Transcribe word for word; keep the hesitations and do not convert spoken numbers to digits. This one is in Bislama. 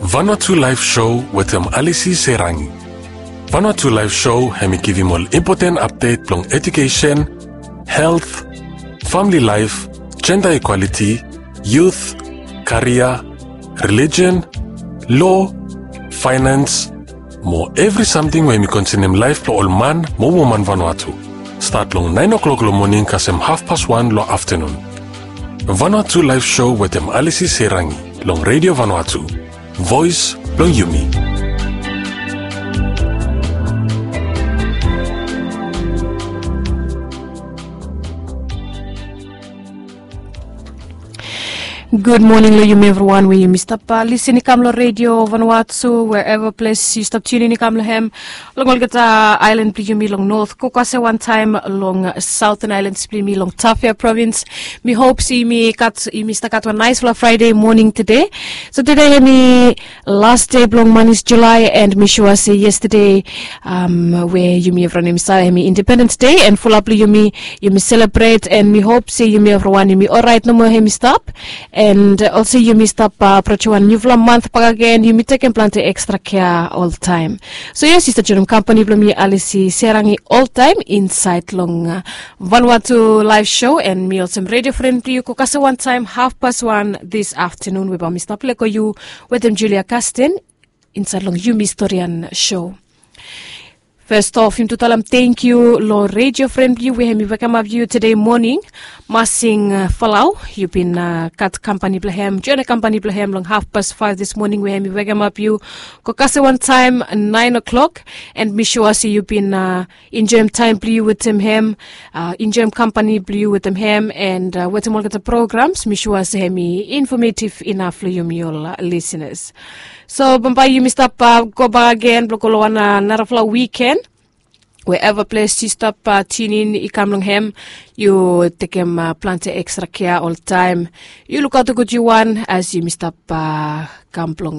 Vanuatu Live Show wetem Alisi Serangi. Vanuatu Live Show hemi givim ol impoten apdet blong edukesen, helt, famili laef, jenda ikwaliti, yut, karia, relijen, lo, faenans, mo evri samting we hemi konsenem laef blong ol man mo woman Vanuatu. Stat long naen o'klok long moning kasem hafpas wan long aftanun. Vanuatu Live Show wetem Alisi Serangi long Redio Vanuatu, voes blong yumi. Gud moning long yumi evriwan we yumi stap lisin i kam long Redio Vanuatu, wherever ples yu stap tiunin i kam long hem, long olgeta aelan blong yumi long not, go kase wantaem long Southern Islands blong yumi long Tafea Provins. Mi hop se yumi gat, yumi stap gat wan naesfala Fraede moning tede. So tede hemi las dei blong manis Julae, and mi sua se yestade, um, we yumi evriwan yumi save hemi Independens Dei, and fulap blong yumi, yumi selebret, and mi hop se yumi evriwan yumi oraet nomo hemi stap, and olsem yumi stap, uh, aprojem wan niufala mant bakegen, yumi tekem plante ekstra kea oltaem. So yes, yu stap joenem kampani blong mi Alisi Serangi oltaem insaed long, uh, Vanuatu Live Show, and mi olsem redio fren blong yu go kase wantaem hafpas wan dis aftanun we bae mi stap lego yu wetem Julia Kasten insaed long Yumi Storian Show. Fes of, yumi tu talem tangkiu long redio fren blong yu we hemi wekemap yu tede moning. Masing, uh, Falau, yu bin, uh, gat kampani blong hem, joenem kampani blong hem long hafpas faef dis moning we hemi wekemap yu go kase wantaem naen o'klok, and mi sua se yu bin, uh, enjoem taem blong yu wetem hem, uh, enjoem kampani blong yu wetem hem, and, uh, wetem olgeta programs, mi sua se hemi infamativ inaf long yumi ol, uh, lisinas. So bambae yumi stap, uh, go bakegen blong go long wan, uh, narafala wiken. Wherever ples yu stap, uh, tiunin i kam long hem, yu tekem, uh, plante ekstra kea oltaem. Yu lukaot gud yu wan as yumi stap, uh, kam blong